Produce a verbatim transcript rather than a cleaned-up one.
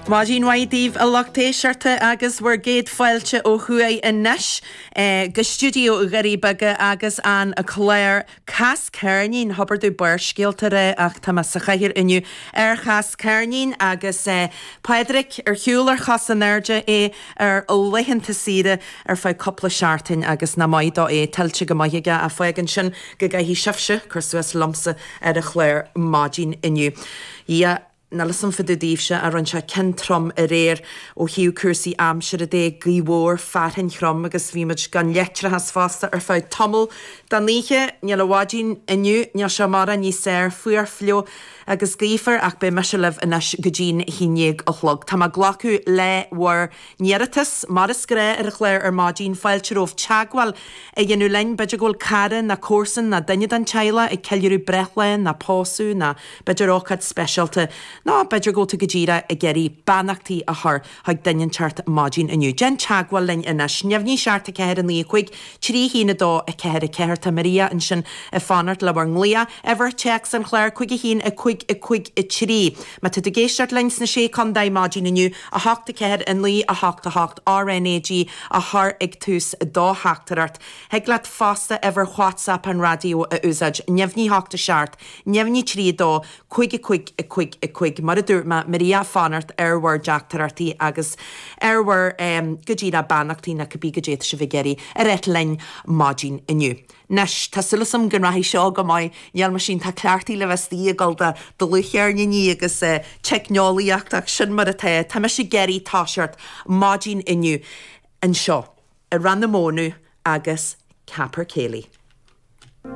Maidin mhaith daoibh a lucht éisteachta agus bhur gcéad fáilte ó thuaidh anois eh, go stiúideo Dhoirí Beaga agus an clár Cas Ceirnín thobair tú Barrscéalta ré ach tá mé sa chathaoir inniu ar Chas Ceirnín agus eh, Pádraic ar shiúl ar chos in airde é ar laethanta saoire ar feadh cúpla seachtain agus nach maith dó é tuillte go maith aige a fágann sin go gcaithfidh sibhse cur suas liomsa ar an chlár maidin inniu. Ia Níl a fhios agam fá dtaobh daoibhse a rinne sé cionn trom aréir ó thaobh cúrsaí aimsire de, gaoth mhór, fearthainn throm agus bhí muid gan leictreachas fosta ar feadh tamall den oíche. Níl an mhaidin inniu, níl sé mórán níos fearr, fuar fliuch agus gaofar ach beidh mise libh anois go dtí'n haon déag a chlog. Tá mé ag glacadh le bhur n-iarratas mar is gnách ar an chlár ar maidin, fáilte romhaibh teagmháil a dhéanamh linn, b'fhéidir go bhfuil cara ná comharsan ná duine den teaghlach ag ceiliúradh breithlá ná pósadh ná b'fhéidir ócáid speisialta. Nó b'fhéidir go bhfuil tú go díreach ag iarraidh beannachtaí a chur chuig duine inteacht maidin inniu. Déan teagmháil linn anois. Neamhní seacht a ceathair a naoi a cúig, trí haon a dó a ceathair a ceathair. Tá Maria ansin ag fanacht le bhur nglaoch. Uimhir téacs an chláir cúig a haon a cúig a cúig a trí. Má tá tú ag éisteacht linn sna Sé Chontae maidin inniu, a hocht a ceathair a naoi a hocht a hocht RNAG a chur ag tús do theachtaireacht. Thig leat fosta uimhir WhatsApp an raidió a úsáid. Neamhní hocht a seacht, neamhní trí a dó, cúig a cúig a cúig a cúig. Mar a dúirt mé Maria ag fanacht ar bhur dteachtaireachtaí agus ar bhur um, go díreach beannachtaí nó cibé goidé atá sibh ag iarraidh a ráit linn maidin inniu. Anois tá súil agam go rachaidh seo go maith níl mar sin tá cleachtaí le bheith ag dul do dlúthcheirníní agus uh, teicneolaíocht ach sin mar atá Tá mise ag iarraidh toiseacht maidin inniu anseo i Rann na Mónadh agus Capercaillie.